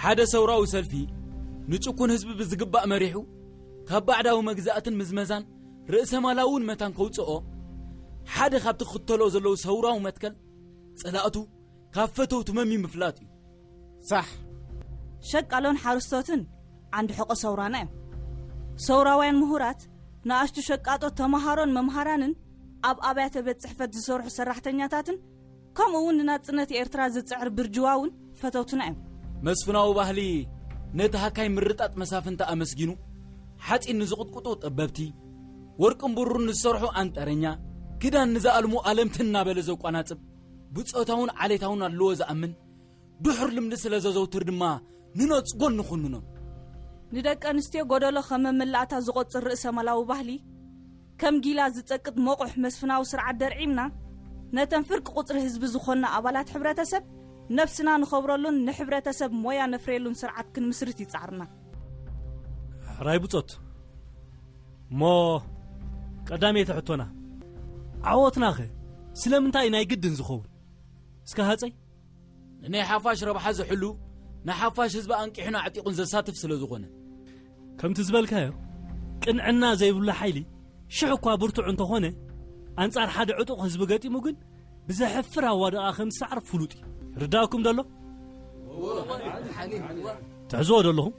ሓደ ሰውራዊ ሰልፊ ንጭኩን ህዝቢ ብዝግባእ መሪሑ፣ ካብ ባዕዳዊ መግዛእትን ምዝመዛን ርእሰ ማላውን መታን ከውፅኦ፣ ሓደ ካብቲ ክኽተሎ ዘለዉ ሰውራዊ መትከል፣ ፀላእቱ ካብ ፈተውቱ መሚ ምፍላጥ እዩ። ሳሕ። ሸቃሎን ሓረስቶትን ዓንዲ ሕቆ ሰውራና እዮም። ሰውራውያን ምሁራት፣ ንኣሽቱ ሸቃጦት ተምሃሮን መምሃራንን፣ ኣብ ኣብያተ ቤት ጽሕፈት ዝሰርሑ ሰራሕተኛታትን፣ ከምኡ እውን ንናጽነት ኤርትራ ዝጽዕር ብርጅዋ እውን ፈተውትና እዮም። መስፍናዊ ባህሊ ነቲ ሃካይ ምርጣጥ መሳፍንቲ ኣመስጊኑ፣ ሓጺን ንዝቕጥቅጡ ጠበብቲ፣ ወርቅን ብሩርን ንዝሰርሑ ኣንጠረኛ፣ ክዳን ንዝኣልሙ ኣለምቲ እናበለ ዘቋናጽብ፣ ብጾታውን ዓሌታውን ኣድልዎ ዝኣምን፣ ድሑር ልምዲ ስለ ዘዘውትር ድማ ንነጽጎን ንኹንኖን። ንደቂ ኣንስትዮ ጎደሎ ከም መመላእታ ዝቖጽር ርእሰ ማላዊ ባህሊ፣ ከም ጊላ ዝጸቅጥ መቑሕ መስፍናዊ ስርዓት ደርዒምና፣ ነተን ፍርቂ ቁጽሪ ህዝቢ ዝኾና ኣባላት ሕብረተሰብ፣ ነብስና ንኸብረሉን ንሕብረተሰብ ሞያ ነፍርየሉን ስርዓት ክንምስርት ይጻዕርና። ሕራይ ብጾት። እሞ ቀዳመይቲ ሕቶና፣ ዓወትናኸ ስለምንታይ ናይ ግድን ዝኸውን? እስከ ሃጸይ። ንናይ ሓፋሽ ረብሓ ዝሕሉ፣ ንሓፋሽ ህዝቢ ኣንቂሑን ኣዕጢቑን ዘሳትፍ ስለ ዝኾነ። ከምቲ ዝበልካዮ፣ ቅንዕና ዘይብሉ ሓይሊ ሽሕ እኳ ብርቱዕ እንተኾነ፣ ኣንጻር ሓደ ዕጡቕ ህዝቢ ገጢሙ ግን ብዘሕፍር ኣዋድቓ ከም ዝሰዕር ፍሉጥ እዩ። ርዳእኩም ደሎ? ትሕዝዎ ደለኹም?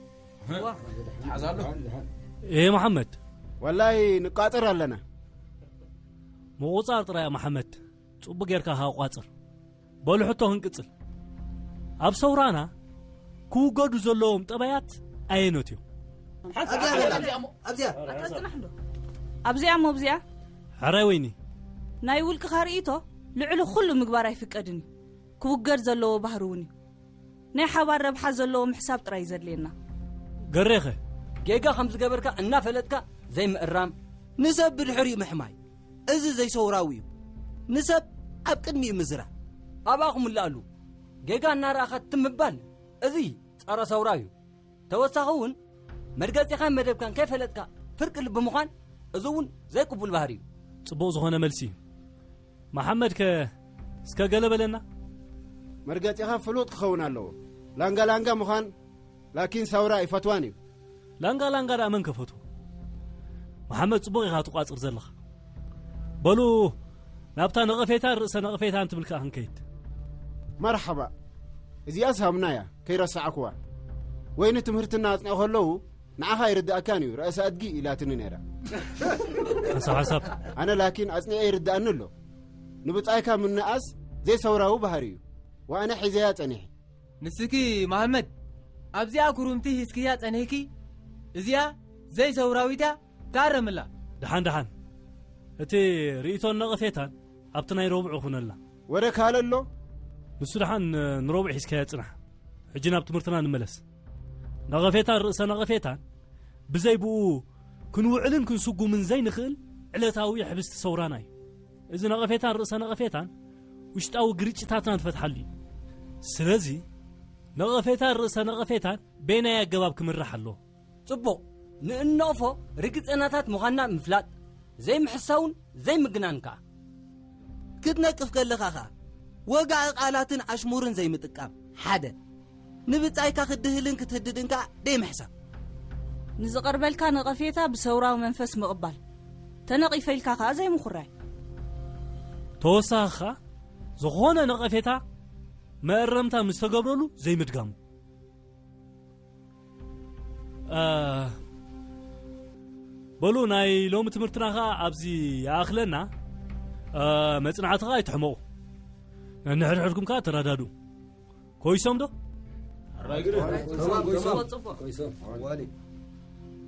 ትሓዛሉ? ኤ መሓመድ። ወላይ ንቃጽር ኣለና። ምቑጻር ጥራይ መሓመድ። ጽቡቕ ጌርካ ከኣ ቋጽር። በሉ ሕቶ ክንቅጽል። ኣብ ሰውራና ክውገዱ ዘለዎም ጠባያት ኣየኖት እዮም? ኣብዚኣ በላ፣ ኣብዚኣ። ኣብዚኣ። ኣታ ጽናሕ እንዶ። ኣብዚኣ እሞ ኣብዚኣ። ሕራይ ወይኒ። ናይ ውልቅኻ ርእይቶ ልዕሊ ኩሉ ምግባር ኣይፍቀድን እዩ። ክውገድ ዘለዎ ባህሪ እውን እዩ። ናይ ሓባር ረብሓ ዘለዎ ምሕሳብ ጥራይ እዩ ዘድልየና። ገሬኸ? ጌጋ ከም ዝገበርካ እናፈለጥካ ዘይምእራም፣ ንሰብ ብድሕሪኡ ምሕማይ፣ እዚ ዘይሰውራዊ እዩ። ንሰብ ኣብ ቅድሚኡ ምዝራብ፣ ኣብኣ ክምላኣሉ፣ ጌጋ እናረኣኻ ትም ምባል፣ እዚ ጸረ ሰውራ እዩ። ተወሳኺ እውን መርገጺኻን መደብካን ከይፈለጥካ ፍርቂ ልቢ ምዃን፣ እዚ እውን ዘይቅቡል ባህሪ እዩ። ጽቡቕ ዝኾነ መልሲ እዩ። መሓመድ ከ እስከ ገለ በለና። መርገጺኻ ፍሉጥ ክኸውን ኣለዎ። ላንጋ ላንጋ ምዃን ላኪን ሰውራ ኣይፈትዋን እዩ። ላንጋ ላንጋ ደኣ መን ከፈትዎ? መሓመድ፣ ጽቡቕ ኢኻ ትቋጽር ዘለኻ። በሉ ናብታ ነቐፌታን ርእሰ ነቐፌታን ትብል ከኣ ክንከይድ። መርሓባ። እዚኣስ ሃምና እያ፣ ከይረሳዕኩዋ። ወይኒ ትምህርትና ኣጽንዑ ከለዉ ንዓኻ ኣይርድኣካን እዩ፣ ርእሰ ኣድጊ ኢላትኒ ነይራ። ሓንሳብ ሓንሳብ። ኣነ ላኪን ኣጽኒዐ ይርድኣኒ ኣሎ። ንብጻይካ ምንኣስ ዘይሰውራዊ ባህሪ እዩ። ወኣነ ሒዘያ ጸኒሐ። ንስኪ መሃመድ፣ ኣብዚኣ ኩሩምቲ ሂዝክያ ጸኒሕኪ፣ እዚኣ ዘይሰውራዊት እያ፣ ታረምላ። ደሓን ደሓን፣ እቲ ርእይቶን ነቐፌታን ኣብቲ ናይ ረቡዕ ይኹነልና። ወረ ካልእ ኣሎ? ንሱ ደሓን ንረቡዕ ሒዝካዮ ጽናሕ። ሕጂ ናብ ትምህርትና ንመለስ። ነቐፌታን ርእሰ ነቐፌታን ብዘይ ብኡ ክንውዕልን ክንስጉምን ዘይንኽእል ዕለታዊ ሕብስቲ ሰውራና እዩ። እዚ ነቐፌታን ርእሰ ነቐፌታን ውሽጣዊ ግርጭታትና ንፈትሓሉ እዩ። ስለዚ ነቐፌታን ርእሰ ነቐፌታን በየናይ ኣገባብ ክምራሕ ኣለዎ? ጽቡቕ፣ ንእነቕፎ ርግጸናታት ምዃንና ምፍላጥ፣ ዘይምሕሳውን ዘይምግናን ከኣ። ክትነቅፍ ከለኻ ከኣ ወግዒ ቃላትን ኣሽሙርን ዘይምጥቃም፣ ሓደ። ንብጻይካ ክትድህልን ክትህድድን ከኣ ደይምሕሳብ። ንዝቐርበልካ ነቐፌታ ብሰውራዊ መንፈስ ምቕባል፣ ተነቒፈ ኢልካ ከኣ ዘይምኹራይ። ተወሳኺ ከኣ ዝኾነ ነቐፌታ መእረምታ ምስ ተገብረሉ ዘይምድጋሙ። እ፣ በሉ ናይ ሎሚ ትምህርትና ኸኣ ኣብዚ ይኣኽለና። እ፣ መጽናዕቲ ኸኣ ኣይትሕመቑ። ነንሕድሕድኩም ከኣ ተረዳድኡ። ኮይሶም ዶ? ጽቡቕ፣ ጽቡቕ።